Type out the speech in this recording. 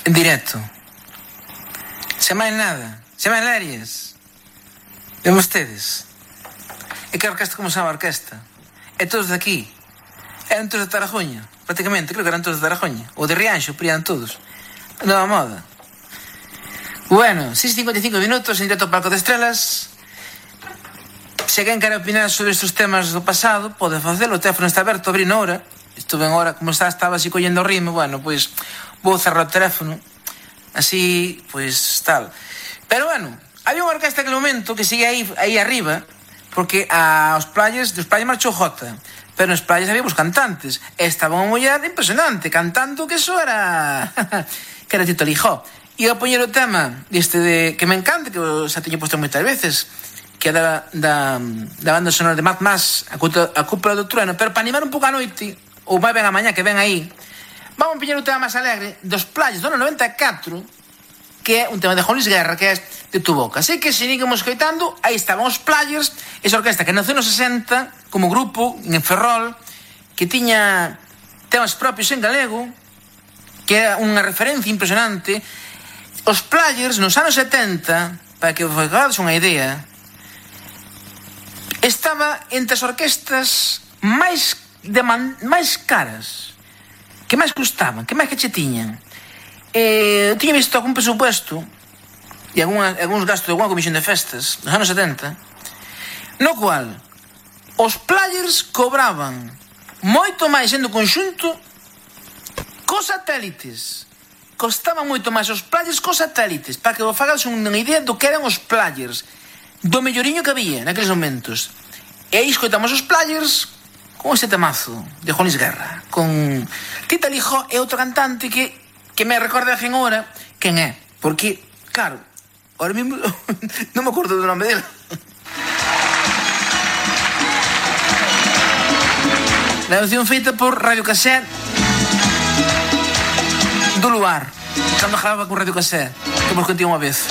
en directo. Sen máis nada. Sen máis lerias. Ven vostedes. E que orquesta como sabe a orquesta? E todos de aquí. Eran todos de Tarajoña, prácticamente. Creo que eran todos de Tarajoña. Ou de Rianxo, pero eran todos. Nova moda. Bueno, 6:55 minutos en directo ao Palco de Estrelas. Se alguén quere opinar sobre estes temas do pasado, pode facelo. O teléfono está aberto, abrí na hora. Estuve en hora, como estaba así collendo o ritmo. Bueno, pois vou cerrar o teléfono. Así, pois, tal. Pero bueno, había unha orquesta naquele momento que sigue aí arriba, porque aos playas, dos playas marchou Jota. Pero nos playas había os cantantes. E estaba unha muller impresionante, cantando que eso era... que era Tito Lijó. E eu poñer o tema deste de... que me encanta, que xa teño posto moitas veces, que é da banda sonora de Mad Max, a Cúpula do Trueno. Pero para animar un pouco a noite, ou vai ben a mañá que ven aí, vamos a poñer o tema máis alegre dos playas do ano 94, que é un tema de Juan Luis Guerra, que é De tu boca. Así que se seguimos escoitando, aí estaban os Players, esa orquesta que nació nos 60 como grupo en Ferrol, que tiña temas propios en galego, que é unha referencia impresionante. Os Players nos anos 70, para que vos fagades unha idea, estaba entre as orquestas máis caras, que máis custaban, que máis que che tiñan. Tiña visto algún presupuesto e algúns gastos de alguna comisión de festas nos anos 70, no cual os Players cobraban moito máis sendo conxunto cos satélites. Costaban moito máis os Players cos satélites, para que vos fagades unha idea do que eran os Players, do melloriño que había naqueles momentos. E aí escoitamos os Players con ese temazo de Juan Luis Guerra, con Tito Lijó e outro cantante que me recorda a quen hora quen é, porque, claro, ahora mismo non me acordo do nome dele. La canción feita por Radio Cassette do Luar, cando grababa con Radio Cassette, que vos contei unha vez.